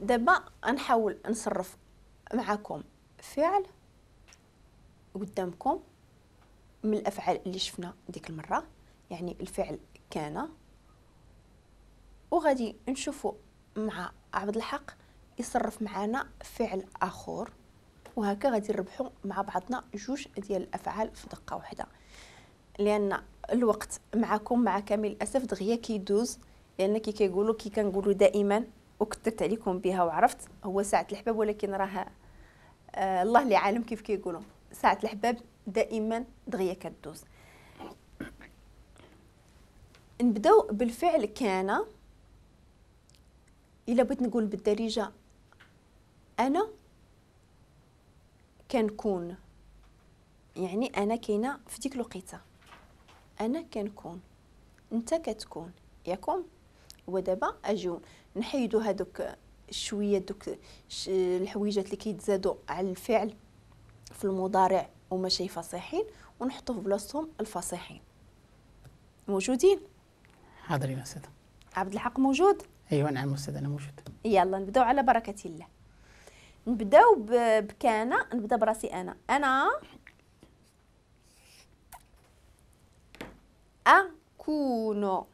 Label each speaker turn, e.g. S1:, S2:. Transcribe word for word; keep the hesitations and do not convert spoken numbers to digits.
S1: دابا نحاول نصرف معكم فعل قدامكم من الافعال اللي شفنا ديك المرة، يعني الفعل كان، وغادي نشوفوا مع عبد الحق يصرف معنا فعل اخر، وهكا غادي نربحوا مع بعضنا جوج ديال الافعال في دقه واحدة، لان الوقت معكم مع كامل الاسف دغيا كيدوز، لان كي كيقولوا كي كنقولوا دائما وكثرت عليكم بها وعرفت هو ساعة الحباب، ولكن راه آه الله اللي عالم كيف كيقولوا ساعة الحباب دائما دغيا كدوز. نبداو بالفعل كان. الا بغيت نقول بالدارجة انا كنكون، يعني انا كاينه في ديك الوقيته، انا كنكون، انت كتكون، ياكم. ودابا اجيو نحيدو هادوك شوية دوك الحويجات اللي كيتزادوا على الفعل في المضارع وماشي فصيحين، ونحطو في بلاصتهم الفصيحين. موجودين؟
S2: حاضرين استاذ.
S1: عبد الحق موجود؟
S2: ايوا نعم استاذ انا موجود.
S1: يلا نبداو على بركة الله. نبداو بكان، نبدا براسي انا. انا اكون،